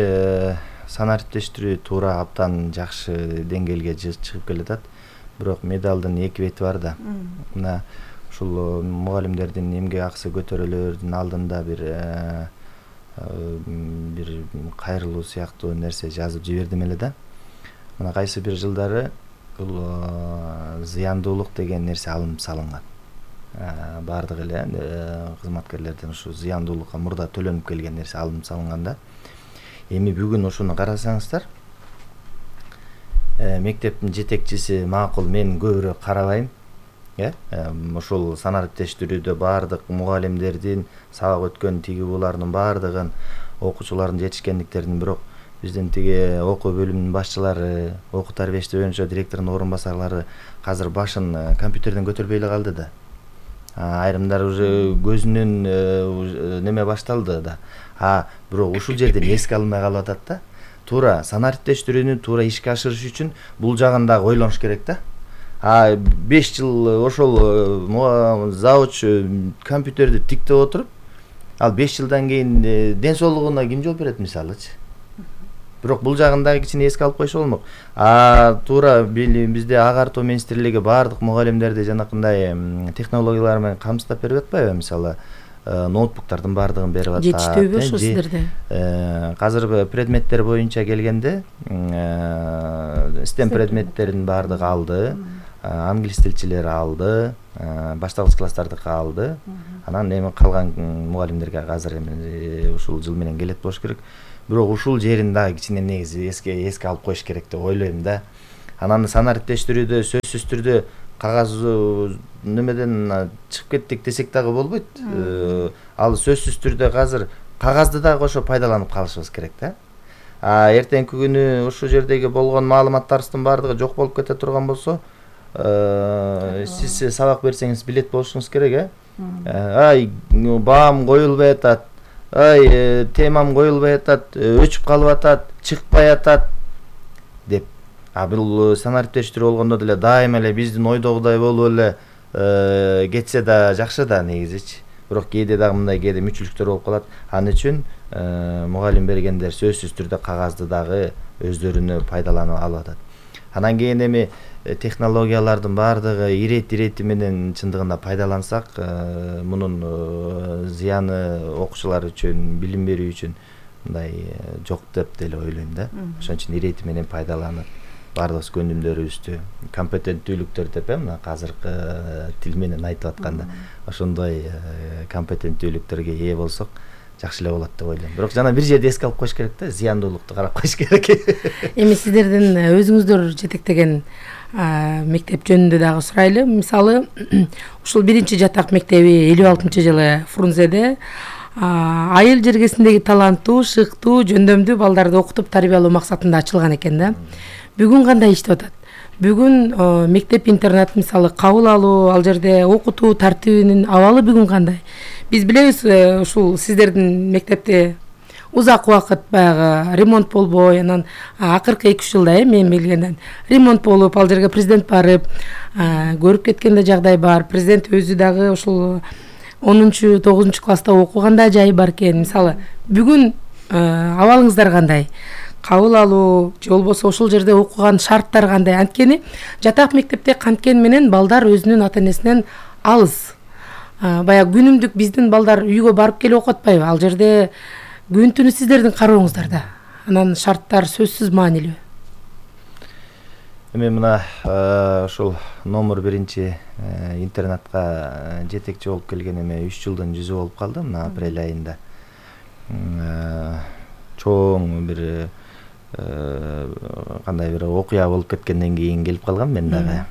санариптештирүү туура абдан жакшы деңгээлге чыгып келатат. Бирок медалдын эки бети бар да. Мына ушул мугалимдердин эмгек акысы көтөрүлөрдүн алдында бир бир кайрылуу сыяктуу нерсе жазып жибердим эле да. Мына кайсы бир жылдары бул зыяндуулук деген нерсе алынып салынган. Бардык эле кызматкерлерден ушу зыяндуулукка мурда төлөнүп келген нерсе алынып салынган да. Эми бүгүн ушуну карасаңыздар, мектептин жетекчиси макул мен көбүрөөк карабайм. Э, ошол санариптештирүүдө бардык мугалимдердин сабак өткөн тиги булардын бардыгын, окуучулардын жетишкендиктерин, бирок биздин тиги окуу бөлүмүнүн башчылары, окуу тарбиячы боюнча директордун орун басарлары азыр башын компьютерден көтөрбөй эле калды да. Айрымдар уже көзүнөн неме башталды да. А бирок ушул жерден эске алынбай калып атат да. Туура санариптештирүүнү туура ишке ашырыш үчүн бул жагын дагы ойлонуш керек да. А беш жыл ошол завуч компьютерди тиктеп отуруп, ал беш жылдан кийин ден соолугуна ким жооп берет мисалычы? Бирок бул жагын дагы кичине эске алып койсо болмок. А туура бизде агартуу министрлиги бардык мугалимдерди жанакындай технологиялар менен камсыздап берип атпайбы? Мисалы, ноутбуктардын бардыгын берип атат. Жетиштүүбү ошо сиздерде? Азыр предметтер боюнча келгенде стем предметтердин бардыгы алды. Англис тилчилери алды, башталгыч класстардыкы алды. Анан эми калган мугалимдерге азыр эми ушул жыл менен келет болуш керек. Бирок ушул жерин дагы кичине негизи эске эске алып коюш керек деп ойлойм да. Анан санариптештирүүдө сөзсүз түрдө кагаз немеден чыгып кеттик десек дагы болбойт. Ал сөзсүз түрдө азыр кагазды дагы ошо пайдаланып калышыбыз керек да. А эртеңки күнү ушул жердеги болгон маалыматтарыбыздын бардыгы жок болуп кете турган болсо, сиз сабак берсеңиз билет болушуңуз керек, э? Ай, баам коюлбай атат. Ай, темам коюлбай атат, өчүп калып атат, чыкпай атат деп. А бул санариптештирүү болгондо деле дайыма эле биздин ойдогудай болуп эле кетсе да жакшы да негизичи. Бирок кээде дагы мындай кээде мүчүлүктөр болуп калат. Ал үчүн мугалим бергендер сөзсүз түрдө кагазды дагы өздөрүнө пайдаланып алып атат. Анан кийин эми технологиялардын бардыгы ирети-ирети менен чындыгында пайдалансак, мунун зыяны окуучулар үчүн, билим берүү үчүн мындай жок деп деле ойлойм да. Ошон үчүн ирети менен пайдаланып, бардык көндүмдөрүбүздү, компетенттүүлүктөр деп мына азыркы тил менен айтып атканда, ошондой компетенттүүлүктөргө ээ болсок жакшы эле болот деп ойлойм. Бирок жана бир жерде эске алып коюш керек да, зыяндуулукту карап коюш керек. Эми сиздердин өзүңүздөр жетектеген мектеп жөнүндө дагы сурайлы. Мисалы, ушул биринчи жатак мектеби элүү алтынчы жылы Фрунзеде айыл жергесиндеги таланттуу, шыктуу, жөндөмдүү балдарды окутуп тарбиялоо максатында ачылган экен да. Бүгүн кандай иштеп атат? Бүгүн мектеп интернат мисалы кабыл алуу, ал жерде окутуу тартибинин абалы бүгүн кандай? Биз билебиз, ушул сиздердин мектепте узак убакыт баягы ремонт болбой, анан акыркы эки үч жылда мен билгенден ремонт болуп, ал жерге президент барып, көрүп кеткен да жагдай бар. Президент өзү дагы ушул онунчу тогузунчу класста окуганда жайы бар экен. Мисалы, бүгүн абалыңыздар кандай? Кабыл алуу же болбосо ошол жерде окуган шарттар кандай? Анткени жатак мектепте канткени менен балдар өзүнүн ата-энесинен алыс. Баягы күнүмдүк биздин балдар үйгө барып келип окуп атпайбы? Ал жерде күн түнү сиздердин карооңуздарда. Анан шарттар сөзсүз маанилүү. Эми мына ошол номер биринчи интернатка жетекчи болуп келген эме үч жылдын жүзү болуп калды мына апрель айында. Чоң бир кандай бир окуя болуп кеткенден кийин келип калгам мен дагы.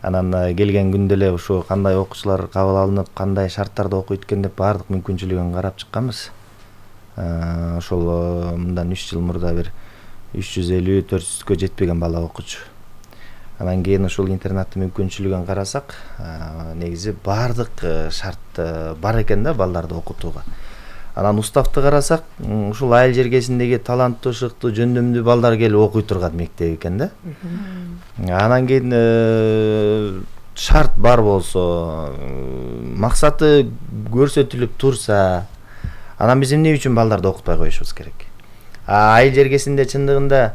Анан келген күндө эле ушу кандай окуучулар кабыл алынып, кандай шарттарда окуйт экен деп бардык мүмкүнчүлүгүн карап чыкканбыз. Ошол мындан үч жыл мурда бир үч жүз элүү төрт жүзгө жетпеген бала окуучу. Анан кийин ушул интернаттын мүмкүнчүлүгүн карасак, негизи бардык шарт бар экен да балдарды окутууга. Анан уставты карасак, ушул айыл жергесиндеги таланттуу, шыктуу, жөндөмдүү балдар келип окуй турган мектеп экен да. Анан кийин шарт бар болсо, максаты көрсөтүлүп турса, анан биз эмне үчүн балдарды окутпай коюшубуз керек? Айыл жергесинде чындыгында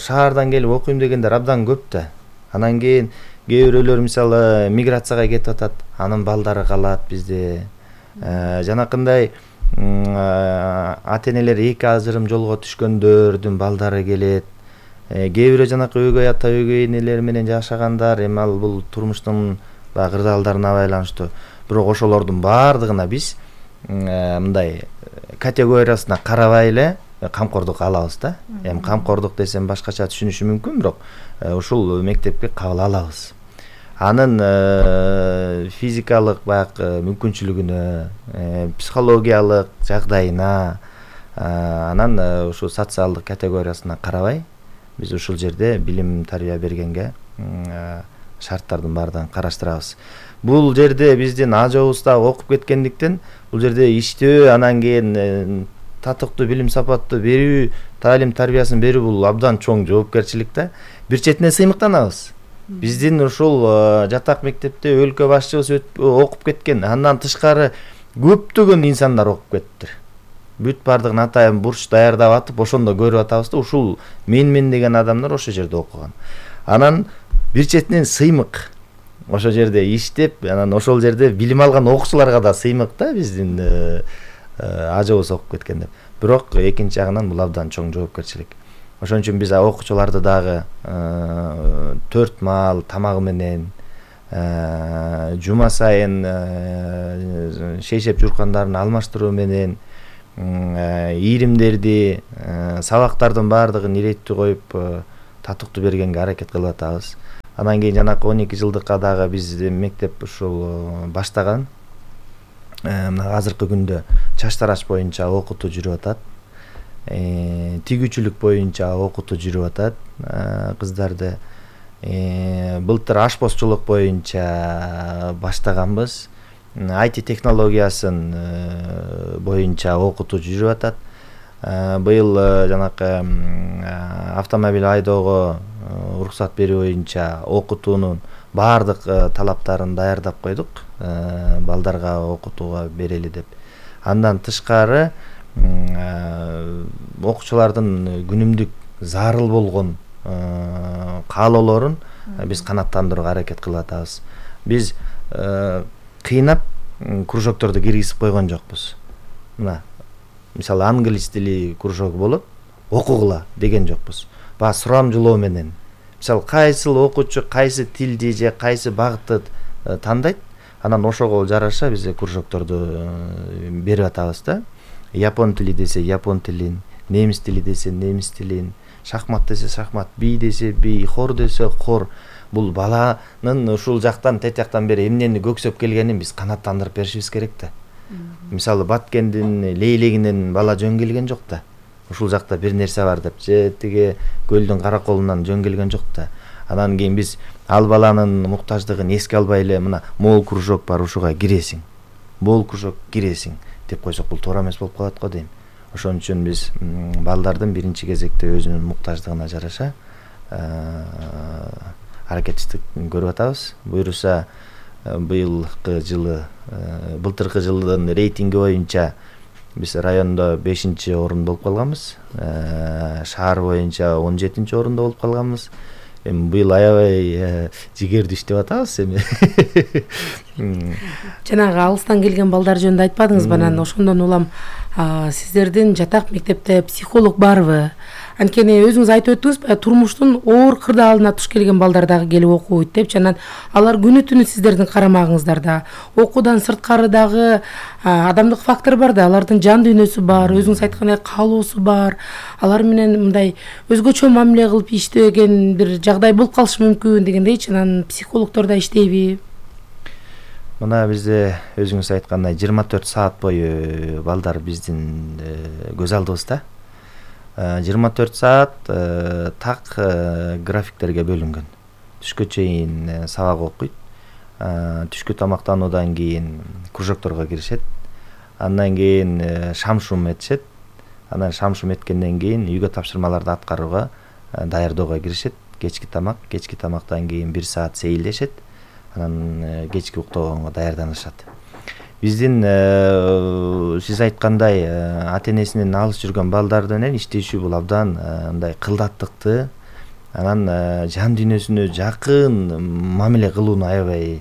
шаардан келип окуйм дегендер абдан көп да. Анан кийин кээ бирөөлөр мисалы миграцияга кетип атат, анын балдары калат бизде. Жанакындай ата энелер эки ажырым жолго түшкөндөрдүн балдары келет. Кээ бирөө жанакы өгөй ата өгөй энелер менен жашагандар, эми ал бул турмуштун баягы кырдаалдарына байланыштуу. Бирок ошолордун баардыгына биз мындай категориясына карабай эле камкордук алабыз да. Эми камкордук десем башкача түшүнүшү мүмкүн, бирок ушул мектепке кабыл алабыз. Анын физикалык баягы мүмкүнчүлүгүнө, психологиялык жагдайына, анан ушу социалдык категориясына карабай биз ушул жерде билим тарбия бергенге шарттардын баардыгын караштырабыз. Бул жерде биздин ажыбыз да окуп кеткендиктен бул жерде иштөө, анан кийин татыктуу билим сапаттуу берүү, таалим тарбиясын берүү бул абдан чоң жоопкерчилик да. Бир четине сыймыктанабыз. Биздин ушул жатак мектепте өлкө башчыбыз окуп кеткен, андан тышкары көптөгөн инсандар окуп кетиптир. Бүт бардыгын атайын бурч даярдап атып, ошондо көрүп атабыз да, ушул мен-мен деген адамдар ошол жерде окуган. Анан бир четинен сыймык. Ошол жерде иштеп, анан ошол жерде билим алган окуучуларга да сыймык да биздин ажыбыз окуп кеткен деп. Бирок экинчи жагынан бул абдан чоң жоопкерчилик. Ошон үчүн биз окуучуларды дагы төрт маал тамагы менен, жума сайын шейшеп журкандарын алмаштыруу менен, ийримдерди, сабактардын баардыгын иреттүү коюп татыктуу бергенге аракет кылып атабыз. Анан кийин жанакы он эки жылдыкка дагы биз мектеп ушул баштаган. Мына азыркы күндө чач тарач боюнча окутуу жүрүп атат. Тигүүчүлүк боюнча окутуу жүрүп атат кыздарды. Былтыр ашпозчулук боюнча баштаганбыз. ай ти технологиясын боюнча окутуу жүрүп атат. Быйыл жанакы автомобиль айдоого уруксат берүү боюнча окутуунун баардык талаптарын даярдап койдук, балдарга окутууга берели деп. Андан тышкары окуучулардын күнүмдүк зарыл болгон каалоолорун биз канааттандырууга аракет кылып атабыз. Биз кыйнап кружокторду киргизип койгон жокпуз. Мына мисалы англис тили кружок болот, окугула деген жокпуз. Ба сурамжылоо менен. Мисалы кайсыл окуучу кайсы тилди же кайсы багытты тандайт, анан ошого жараша биз кружокторду берип атабыз да. Япон тили десе япон тилин, немис тили десе немис тилин, шахмат десе шахмат, би десе би, хор десе хор. Бул баланын ушул жактан тетяктан бери эмнени көксөп келгенин биз канааттандырып беришибиз керек да. Мисалы Баткендин лейлегинен бала жөн келген жок да. Ушул жакта бир нерсе бар деп, же тиги көлдүн караколунан жөн келген жок да. Анан кийин биз ал баланын муктаждыгын эске албай эле мына мол кружок бар, ушуга киресиң. Бол кружок киресиң деп койсок бул туура эмес болуп калат го дейм. Ошон үчүн биз балдардын биринчи кезекте өзүнүн муктаждыгына жараша аракетчилик көрүп атабыз. Буюрса быйылкы жылы, былтыркы жылдын рейтинги боюнча биз райондо бешинчи орунда болуп калганбыз. Шаар боюнча он жетинчи орунда болуп калганбыз. Эми быйыл аябай жигердүү иштеп атабыз эми. Жанагы алыстан келген балдар жөнүндө айтпадыңыз, анан ошондон улам сиздердин жатак мектепте психолог барбы? Анткени өзүңүз айтып өттүңүз, турмуштун оор кырдаалына туш келген балдар дагы келип окуйт деп, анан алар күнү түнү сиздердин карамагыңыздарда. Окуудан сырткары дагы адамдык фактор бар да, алардын жан дүйнөсү бар, өзүңүз айткандай каалоосу бар. Алар менен мындай өзгөчө мамиле кылып иштеген бир жагдай болуп калышы мүмкүн дегендейчи, анан психологдор да иштейби? Мына бизде өзүңүз айткандай жыйырма төрт саат бою балдар биздин көз алдыбызда. жыйырма төрт саат так графиктерге бөлүнгөн. Түшкө чейин сабак окуйт. Түшкү тамактануудан кийин кружокторго киришет. Андан кийин шам-шум этишет. Анан шам-шум эткенден кийин үйгө тапшырмаларды аткарууга даярдоого киришет. Кечки тамак, кечки тамактан кийин бир саат сейилдешет. Анан кечки уктоого даярданышат. Биздин сиз айткандай ата энесинен алыс жүргөн балдарды менен иштешүү бул абдан мындай кылдаттыкты, анан жан дүйнөсүнө жакын мамиле кылууну аябай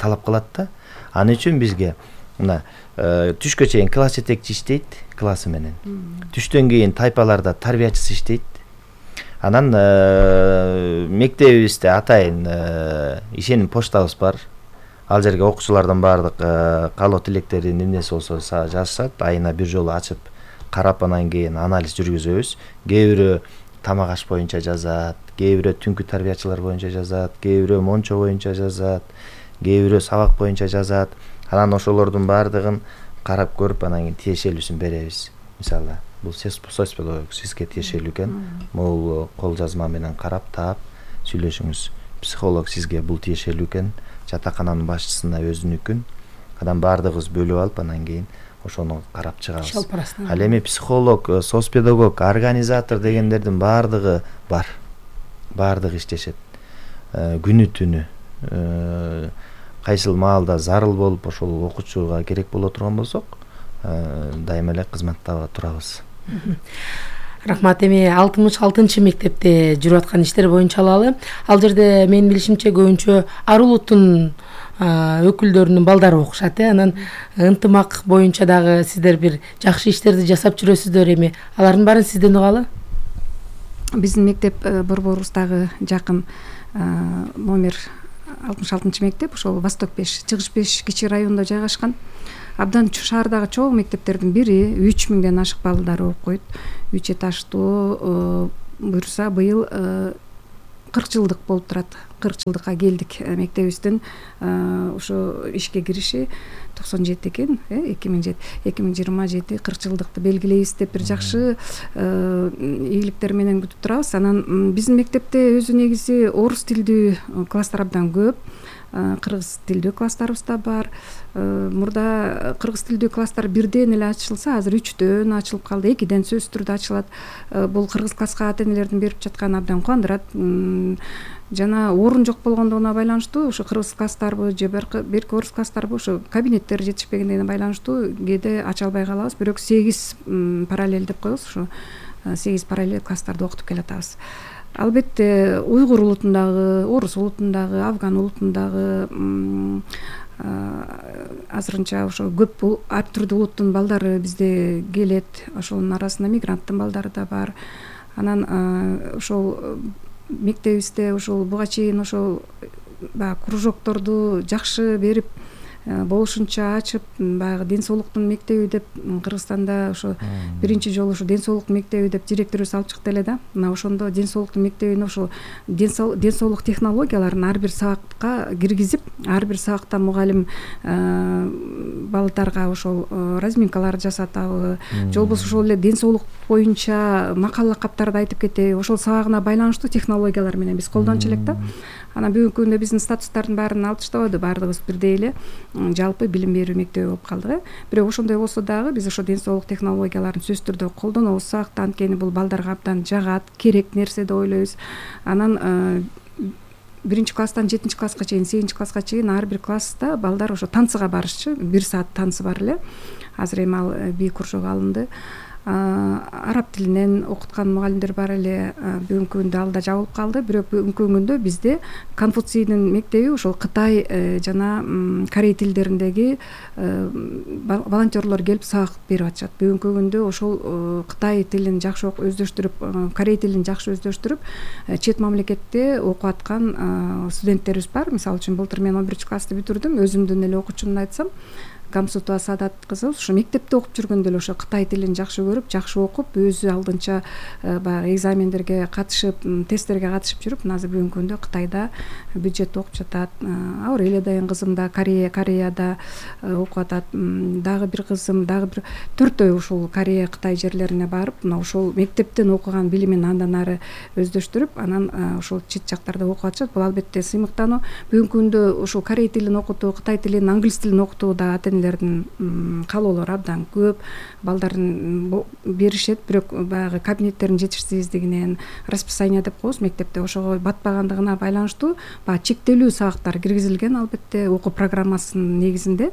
талап кылат да. Ал үчүн бизге мына түшкө чейин класс жетекчи иштейт классы менен. Түштөн кийин тайпаларда тарбиячысы иштейт. Анан мектебибизде атайын ишеним почтабыз бар. Ал жерге окуучулардан баардык каалоо тилектерин эмнеси болсо жазышат. Айына бир жолу ачып карап анан кийин анализ жүргүзөбүз. Кээ бирөө тамак аш боюнча жазат, кээ бирөө түнкү тарбиячылар боюнча жазат, кээ бирөө мончо боюнча жазат, кээ бирөө сабак боюнча жазат. Анан ошолордун баардыгын карап көрүп анан кийин тиешелүүсүн беребиз. Мисалы, бул сөз педагог сизге тиешелүү экен. Бул кол жазма менен карап таап сүйлөшүңүз. Психолог сизге бул тиешелүү экен. Жатакананын башчысына өзүнүкүн. Анан баардыгыбыз бөлүп алып анан кийин ошону карап чыгабыз. Ал эми психолог, соц педагог, организатор дегендердин баардыгы бар. Баардыгы иштешет. Күнү түнү кайсыл маалда зарыл болуп ошол окуучуга керек боло турган болсок, дайыма эле кызматта турабыз. Рахмат. Эми алтымыш алтынчы мектепте жүрүп аткан иштер боюнча алалы. Ал жерде менин билишимче көбүнчө ар улуттун өкүлдөрүнүн балдары окушат. Анан ынтымак боюнча дагы сиздер бир жакшы иштерди жасап жүрөсүздөр. Эми алардын баарын сизден угалы. Биздин мектеп борборубуздагы жакын номер алтымыш алтынчы мектеп, ошол Восток беш, Чыгыш беш кичи районунда жайгашкан. Абдан шаардагы чоң мектептердин бири, үч миңден ашык балдар окуп койт. үч этаждуу буюрса быйыл кырк жылдык болуп турат. кырк жылдыкка келдик. Мектебибиздин ошо ишке кириши токсон жети экен, эки миң жети, эки миң жыйырма жети кырк жылдыкты белгилейбиз деп бир жакшы ийгиликтер менен күтүп турабыз. Анан биздин мектепте өзү негизи орус тилдүү класстар абдан көп. Кыргыз тилдүү класстарыбыз да бар. Мурда кыргыз тилдүү класстар бирден эле ачылса, азыр үчтөн ачылып калды, экиден сөзсүз түрдө ачылат. Бул кыргыз класска ата-энелердин берип жатканы абдан кубандырат. Жана орун жок болгондугуна байланыштуу, ошо кыргыз класстарбы же берки орус класстарбы ошо кабинеттер жетишпегендигине байланыштуу кээде ача албай калабыз. Бирок сегиз параллель деп коебуз, ошо сегиз параллель класстарды окутуп келатабыз. Албетте уйгур улутундагы, орус улутундагы, афган улутундагы азырынча ошо көп ар түрдүү улуттун балдары бизде келет. Ошонун арасында мигранттын балдары да бар. Анан ошол мектебибизде ошол буга чейин ошол баягы кружокторду жакшы берип, болушунча ачып, баягы ден соолуктун мектеби деп Кыргызстанда ошо биринчи жолу ошо ден соолук мектеби деп директорубуз алып чыкты эле да. Мына ошондо ден соолуктун мектебине ошо ден соолук технологияларын ар бир сабакка киргизип, ар бир сабакта мугалим балдарга ошол разминкалар жасатабы, же болбосо ошол эле ден соолук боюнча макала каптарды айтып кетеби, ошол сабагына байланыштуу технологиялар менен биз колдончу элек да. Анан бүгүнкү күндө биздин статустардын баарын алып таштабады, баардыгыбыз бирдей эле жалпы билим берүү мектеби болуп калдык. Бирок ошондой болсо дагы биз ошо ден соолук технологияларын сөзсүз түрдө колдонобуз. Сабакта анткени бул балдарга абдан жагат, керек нерсе деп ойлойбуз. Анан биринчи класстан жетинчи класска чейин, сегизинчи класска чейин ар бир класста балдар ошо танцыга барышчу. бир саат танцы бар эле. Азыр эми ал би кружок алынды. Араб тилинен окуткан мугалимдер бар эле. Бүгүнкү күндө ал да жабылып калды. Бирок бүгүнкү күндө бизде Конфуцийдин мектеби ошол Кытай жана Корей тилдериндеги волонтерлор келип сабак берип атышат. Бүгүнкү күндө ошол Кытай тилин жакшы өздөштүрүп, Корей тилин жакшы өздөштүрүп, чет мамлекетте окуп аткан студенттерибиз бар. Мисалы үчүн былтыр мен он биринчи классты бүтүрдүм. Өзүмдүн эле окуучумду айтсам, Камсутова Саадат кызы ошо мектепте окуп жүргөндө эле ошо Кытай тилин жакшы көрүп, жакшы окуп, өзү алдынча баягы экзамендерге катышып, тесттерге катышып жүрүп, азыр бүгүнкү күндө Кытайда бюджетте окуп жатат. Аурелия дайын кызым да Корея, Кореяда окуп атат. Дагы бир кызым, дагы бир төртөө ушул Корея, Кытай жерлерине барып, мына ошол мектептен окуган билимин андан ары өздөштүрүп, анан ошол чет жактарда окуп атышат. Бул албетте сыймыктануу. Бүгүнкү күндө ошол Корей тилин окутуу, Кытай тилин, англис тилин окутуу да каалоолору абдан көп. Балдардын беришет, бирок баягы кабинеттердин жетишсиздигинен, расписание деп коебуз мектепте, ошого батпагандыгына байланыштуу баягы чектелүү сабактар киргизилген. Албетте окуу программасынын негизинде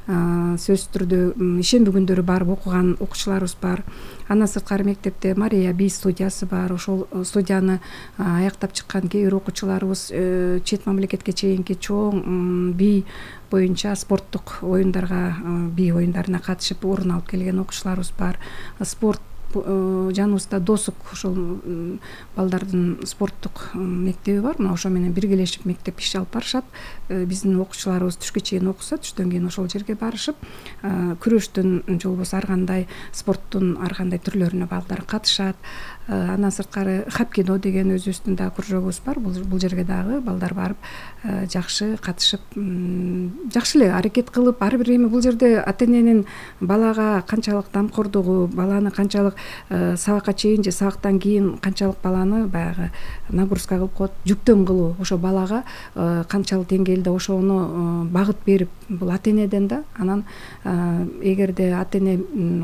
сөзсүз түрдө ишемби күндөрү барып окуган окуучуларыбыз бар. Андан сырткары мектепте Мария би студиясы бар. Ошол студияны аяктап чыккан кээ бир окуучуларыбыз чет мамлекетке чейинки чоң би боюнча спорттук оюндарга, бий оюндарына катышып орун алып келген окуучуларыбыз бар. Спорт жаныбызда досук ошол балдардын спорттук мектеби бар. Мына ошо менен биргелешип мектеп иш алып барышат. Биздин окуучуларыбыз түшкө чейин окуса, түштөн кийин ошол жерге барышып, күрөштүн же болбосо ар кандай спорттун ар кандай түрлөрүнө балдар катышат. Андан сырткары хапкидо деген өзүбүздүн дагы кружогубуз бар. Бул жерге дагы балдар барып жакшы катышып, жакшы эле аракет кылып, ар бир эми бул жерде ата-эненин балага канчалык дамкордугу, баланы канчалык сабакка чейин же сабактан кийин канчалык баланы баягы нагрузка кылып коет, жүктөм кылуу, ошо балага канчалык деңгээлде ошону багыт берип, бул ата-энеден да. Анан эгерде ата-эне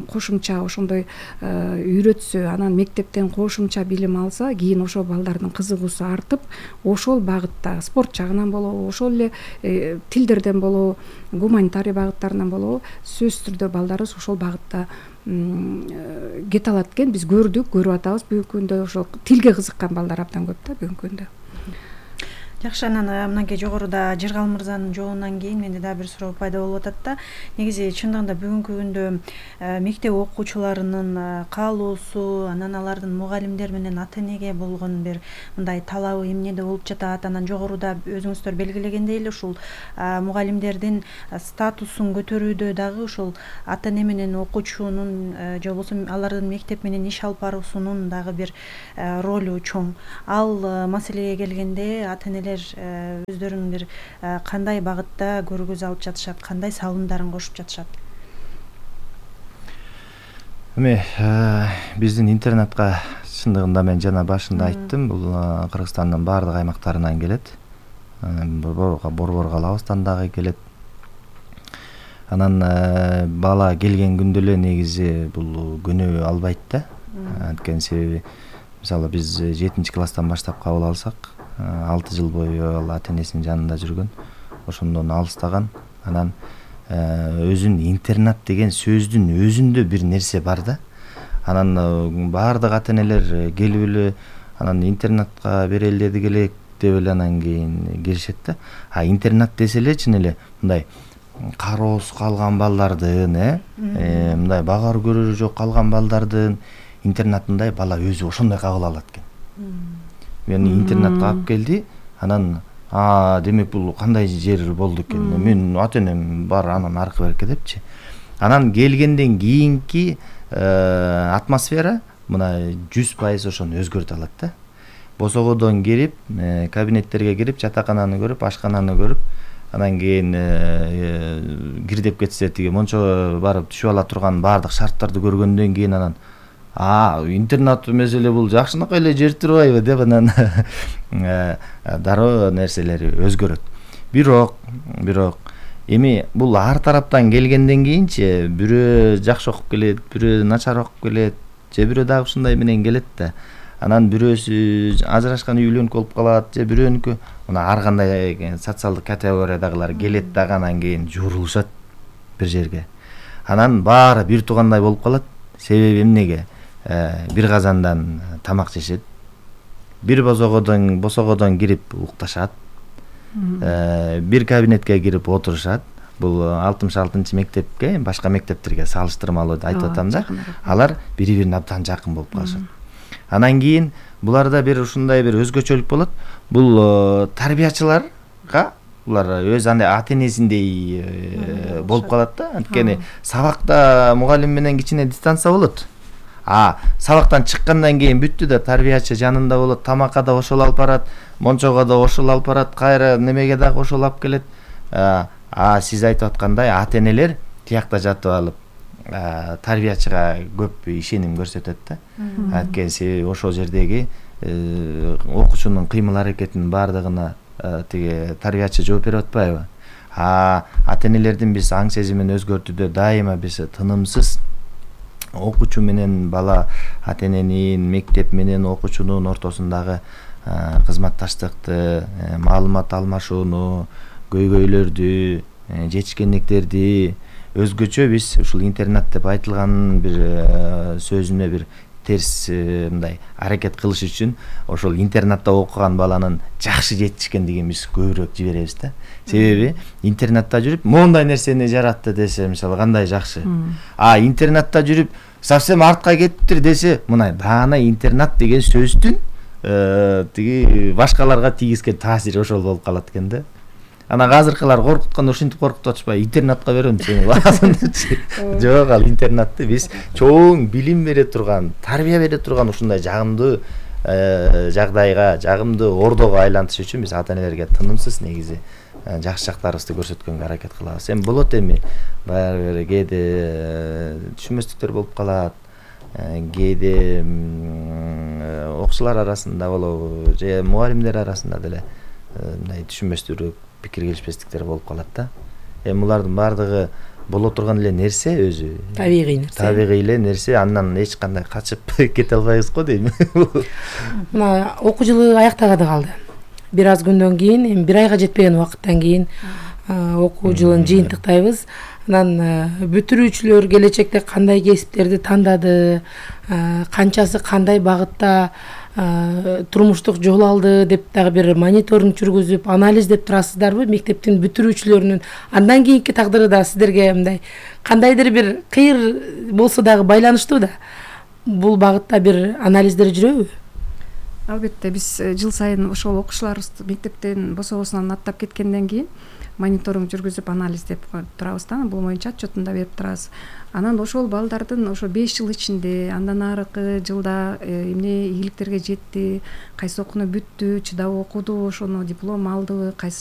кошумча ошондой үйрөтсө, анан мектептен кошумча билим алса, кийин ошо балдардын кызыгуусу артып, ошол багытта спорт жагынан болобу, ошол эле тилдерден болобу, гуманитарий багыттарынан болобу, сөзсүз түрдө балдарыбыз ошол багытта кете алат экен. Биз көрдүк, көрүп атабыз. Бүгүнкү күндө ошол тилге кызыккан балдар абдан көп да бүгүнкү күндө. Жакшы, анан мынакей жогоруда Жыргал мырзанын жоонунан кийин менде дагы бир суроо пайда болуп атат да. Негизи чындыгында бүгүнкү күндө мектеп окуучуларынын каалоосу, анан алардын мугалимдер менен ата-энеге болгон бир мындай талабы эмнеде болуп жатат. Анан жогоруда өзүңүздөр белгилегендей эле ушул мугалимдердин статусун көтөрүүдө дагы ушул ата-эне менен окуучунун же болбосо алардын мектеп менен иш алып баруусунун дагы бир ролу чоң. Ал маселеге келгенде ата-энелер өздөрүнүн бир кандай багытта көргөз алып жатышат, кандай салымдарын кошуп жатышат? Эми биздин интернатка чындыгында мен жана башында айттым, бул Кыргызстандын баардык аймактарынан келет. Борбор калабыздан дагы келет. Анан бала келген күндө эле негизи бул күнөө албайт да. Анткени себеби мисалы биз жетинчи класстан баштап кабыл алсак, алты жыл бою ал ата-энесинин жанында жүргөн, ошондон алыстаган. Анан өзүн интернат деген сөздүн өзүндө бир нерсе бар да. Анан баардык ата-энелер келип эле анан интернатка берели дедик элек деп эле анан кийин киришет да. А интернат десе эле чын эле мындай кароосуз калган балдардын, э мындай багар көрөрү жок калган балдардын интернатындай бала өзү ошондой кабыл алат экен. Мени интернатка алып келди, анан а демек бул кандай жер болду экен, мен ата-энем бар анан аркы берке депчи. Анан келгенден кийинки атмосфера мына жүз пайыз ошону өзгөртө алат да. Босогодон кирип, кабинеттерге кирип, жатакананы көрүп, ашкананы көрүп, анан кийин кир деп кетсе тиги мончо барып түшүп ала турган баардык шарттарды көргөндөн кийин анан а интернат меселе бул жакшынакай эле жер турбайбы деп анан дароо нерселери өзгөрөт. Бирок, бирок эми бул ар тараптан келгенден кийинчи бирөө жакшы окуп келет, бирөө начар окуп келет, же бирөө дагы ушундай менен келет да. Анан бирөөсү ажырашкан үйлөнүк болуп калат, же бирөөнүкү мына ар кандай социалдык категориядагылар келет дагы анан кийин жуурулушат бир жерге. Анан баары бир туугандай болуп калат. Себеби эмнеге? Бир казандан тамак жешет. Бир босогодон босогодон кирип укташат. Бир кабинетке кирип отурушат. Бул алтымыш алтынчы мектепке, башка мектептерге салыштырмалуу айтып атам да. Алар бири-бирине абдан жакын болуп калышат. Анан кийин буларда бир ушундай бир өзгөчөлүк болот. Бул тарбиячыларга булар өз андай ата-энесиндей болуп калат да. Анткени сабакта мугалим менен кичине дистанция болот. А сабактан чыккандан кийин бүттү да, тарбиячы жанында болот, тамакка да ошол алып барат, мончого да ошол алып барат, кайра немеге дагы ошол алып келет. А сиз айтып аткандай ата-энелер тиякта жатып алып тарбиячыга көп ишеним көрсөтөт да. Анткени себеби ошол жердеги окуучунун кыймыл аракетинин баардыгына тиги тарбиячы жооп берип атпайбы? А ата-энелердин биз аң сезимин өзгөртүүдө дайыма биз тынымсыз окуучу менен бала, ата-эненин, мектеп менен окуучунун ортосундагы кызматташтыкты, маалымат алмашууну, көйгөйлөрдү, жетишкендиктерди өзгөчө биз ушул интернат деп айтылган бир сөзүнө бир терс мындай аракет кылыш үчүн ошол интернатта окуган баланын жакшы жетишкендигин биз көбүрөөк жиберебиз да. Себеби интернатта жүрүп моундай нерсени жаратты десе, мисалы кандай жакшы. А интернатта жүрүп совсем артка кетиптир десе, мына даана интернат деген сөздүн тиги башкаларга тийгизген таасири ошол болуп калат экен да. Анан азыркылар коркутканда ушинтип коркутуп атышпайбы, интернатка берем сени баласын депчи. Жок, ал интернатты биз чоң билим бере турган, тарбия бере турган ушундай жагымдуу жагдайга, жагымдуу ордого айлантыш үчүн биз ата энелерге тынымсыз негизи жакшы жактарыбызды көрсөткөнгө аракет кылабыз. Эми болот эми баягы бир кээде түшүнбөстүктөр болуп калат. Кээде окуучулар арасында болобу, же мугалимдер арасында деле мындай түшүнбөстүк, пикир келишпестиктер болуп калат да. Эми булардын баардыгы боло турган эле нерсе өзү. Табигый нерсе. Табигый эле нерсе, андан эч кандай качып кете албайбыз го дейм. Мына окуу жылы аяктаганы калды. Бир аз күндөн кийин, эми бир айга жетпеген убакыттан кийин окуу жылын жыйынтыктайбыз. Анан бүтүрүүчүлөр келечекте кандай кесиптерди тандады, канчасы кандай багытта турмуштук жол алды деп дагы бир мониторинг жүргүзүп, анализдеп турасыздарбы? Мектептин бүтүрүүчүлөрүнүн андан кийинки тагдыры да сиздерге мындай кандайдыр бир кыйыр болсо дагы байланыштуу да. Бул багытта бир анализдер жүрөбү? Албетте, биз жыл сайын ошол окуучуларыбызды мектептен бособосунан аттап кеткенден кийин мониторинг жүргүзүп анализдеп турабыз да, бул боюнча отчетун да берип турабыз. Анан ошол балдардын ошо беш жыл ичинде, андан аркы жылда эмне ийгиликтерге жетти, кайсы окууну бүттү, чыдап окуду, ошону диплом алдыбы, кайсы